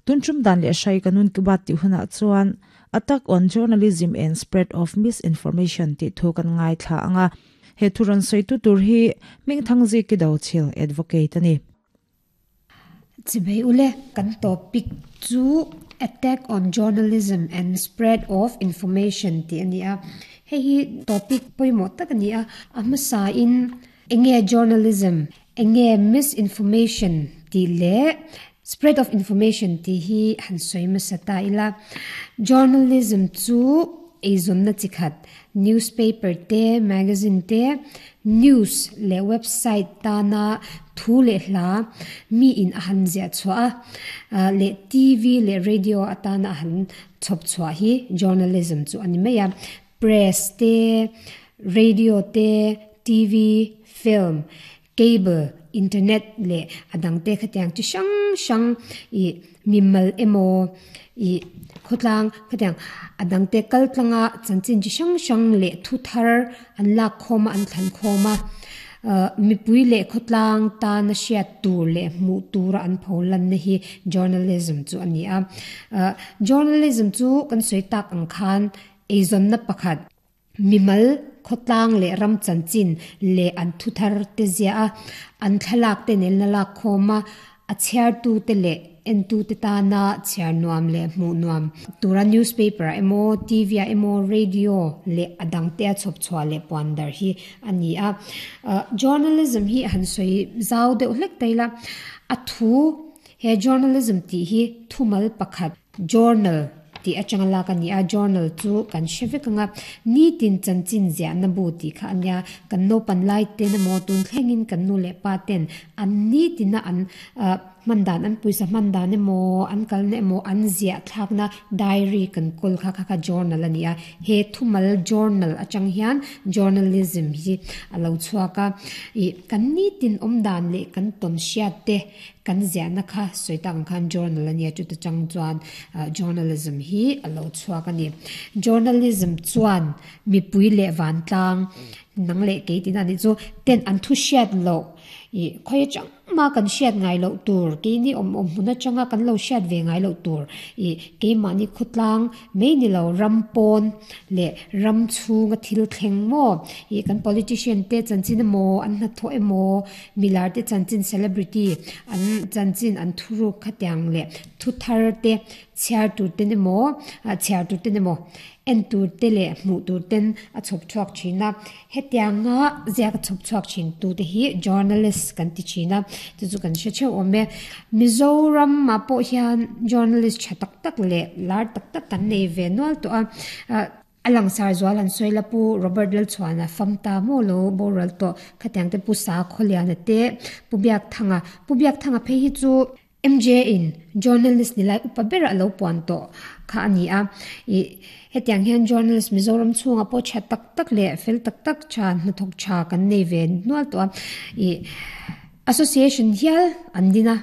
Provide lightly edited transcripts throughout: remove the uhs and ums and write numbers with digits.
Tun tum dan leh hrai kanun ki bat ti hunah chuan Attack on Journalism and Spread of Misinformation tih thu kan ngaithla anga he thu rawn sawi tu tur hi Hmingthangzi ki Dochil Advocate a ni. Chibei ule kan topic chu Attack on Journalism and Spread of Information tih a ni a. Hei hi topic pawimawh tak a ni a, a hmasa in enge journalism, enge misinformation tih leh spread of information tih hi han sawi hmasa ta ila. Journalism chu eizawnna chi khat, newspaper te, magazine te, news leh website tana thu leh hla mi in a han ziah chhuah a, leh TV leh radio atana a han chhawp chhuah hi journalism chu a ni mai a. Press te, radio te, TV, film, cable, internet leh a dang te khatiang chi hrang hrang ih mimal emaw ih khawtlang khatiang a dang te kal tlanga chanchin chi hrang hrang leh thu thar an lak khawm a an thlan khawm a ah mipui leh khawtlang tana hriat tur leh hmuh tura an pho lanna hi journalism chu a ni a ah journalism chu kan sawi tak ang khan eizawnna pakhat. Mimal, khawtlang leh ram chanchin leh an thuthar te ziah a, an thlalak te nen la lak khawm a, a chhiartute leh entute tana chhiar nuam leh hmuh nuam tura newspaper ah emaw, TV ah emaw, radio leh a dangte a chhawp chhuah leh puan dar hi a ni a. Journalism hi han sawi zau deuh hlek ta ila, a thu he journalism tih hi thumal pakhat, Journal tih atanga lak a ni a, journal chu kan hre vek ang a, nitin chanchin ziahna bu tih kha a nia, kan naupan lai ten emaw tun thlengin kan nu leh pa ten an nitina an ah hman dan an pawisa hman dan emaw an kalna emaw an ziah thlakna diary kan kawl kha kha kha journal a ni a, he thumal journal atang hian journalism hi a lo chhuak a, ih kan nitin awm dan leh kan tawn hriat te Kan ziahna kha sawi tak ang khan journal a nia, chuta chang chuan journalism hi a lo chhuak a ni. Journalism chuan mipui leh vantlang nang leh kei tina nih chu ten an thu hriat loh ih khawi atang mah kan hriat ngai loh tur keini awm awm hmun atanga kan lo hriat ve ngai loh tur ih keimahni khawtlang mai ni lo ram pawn leh ram chhunga thil thleng maw ih kan politician te chanchin emaw an hnathawh emaw Milar te chanchin celebrity an chanchin an thuruk khatiang leh thu thar te chhiar tur ten emaw ah chhiar tur ten emaw en tur te leh hmuh tur ten a chhawp chhuak thin a hetianga ziak a chhawp chhuak thin tu te hi journalist kan ti thin a chu chu kan hre theuh awm e Mizoram ah pawh hian journalist tha tak tak leh lar tak tak kan nei ve nual tawh a ah. A langsar zual an sawi la Pu Robert Lalchhuana fam ta maw lo boral tawh khatiang te Pu Sakhawliana te Pu Biakthanga Pu Biakthanga phei hi chu MJ in journalist ni lai upa ber a lo puan tawh kha a ni a ih hetiang hian journalist Mizoram chhungah pawh tha tak tak leh fel tak tak tha hnathawk tha kan nei ve nual tawh a ih association hial an din a.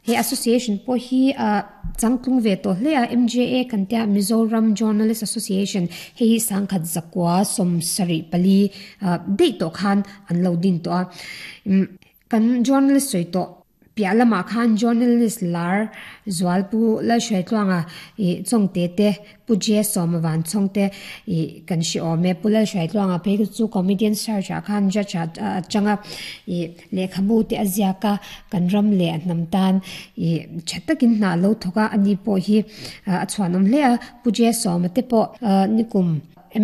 He association pawh hi ah changtlung ve tawh hle a, MJA kan tia Mizoram Journalist Association hei hi sangkhat zakua 74 ah daih tawh khan an lo din tawh a. Umm kan journalist sawi tawh piah lamah khan journalist lar zual Pu Lalhruaitluanga ih Chawngte te Pu J Sawma van chhawng te ih kan hre awm e. Pu Lalhruaitluanga phei kha chu comedian search ah khan judge ah a chang a, ih lehkhabu te a ziak a, kan ram leh a hnam tan ih tha takin hna a lo thawk a, ani pawh hi a chhuanawm hle a. Pu J Sawma te pawh nikum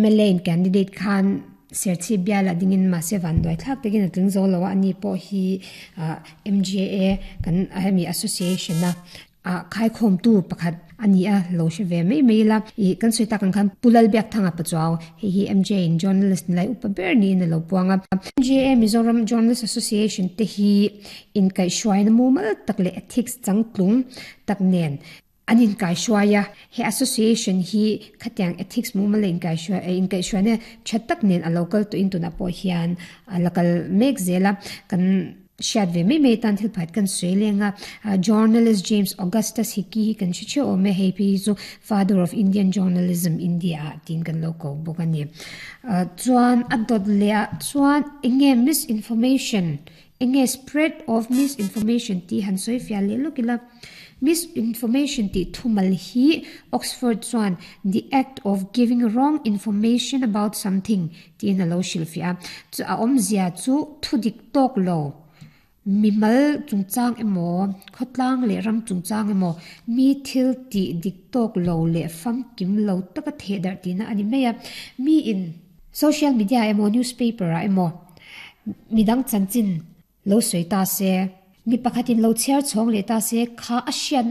mla in candidate khan Serchhip bial ah dingin mahse vanduai thlak takin a tling zo lo a, ani pawh hi MJA kan hemi association a Ah khaikhawmtu pakhat a ni a, lo hre ve mai mai ila. Ih kan sawi tak ang khan Pu Lalbiakthanga Pachuau, hei hi MJ in journalist ni lai upa ber niin a lo puang a. MJA Mizoram Journalist Association te hi inkaihhruaina mumal tak leh ethics changtlung tak nen an inkaihhruai a. He association hi khatiang ethics mumal leh inkaihhruai inkaihhruaina tha tak nen a lo kal tawhin tunah pawh hian a la kal mek zel a. Kan. Hriat ve mai mai atan thil pakhat kan sawi leng a, Journalist James Augustus Hickey hi kan hre theuh awm e, hei phei hi chu Father of Indian Journalism India ah tiin kan lo ko bawk a ni. Chuan a dawt leh ah chuan eng nge misinformation, eng nge spread of misinformation tih han sawi fiah leh lawk ila. Misinformation tih thumal hi Oxford chuan the act of giving wrong information about something tiin a lo hrilhfiah a. Chu a awmzia chu thudik tawk lo, mimal chungchang emaw, khawtlang leh ram chungchang emaw, mi thil tih dik tawk lo leh famkim lo taka thehdarh tihna a ni mai a. Miin social media emaw newspaper ah emaw midang chanchin lo sawi ta se, mi pakhatin lo chhiar chhawng leh ta se kha a hriatna.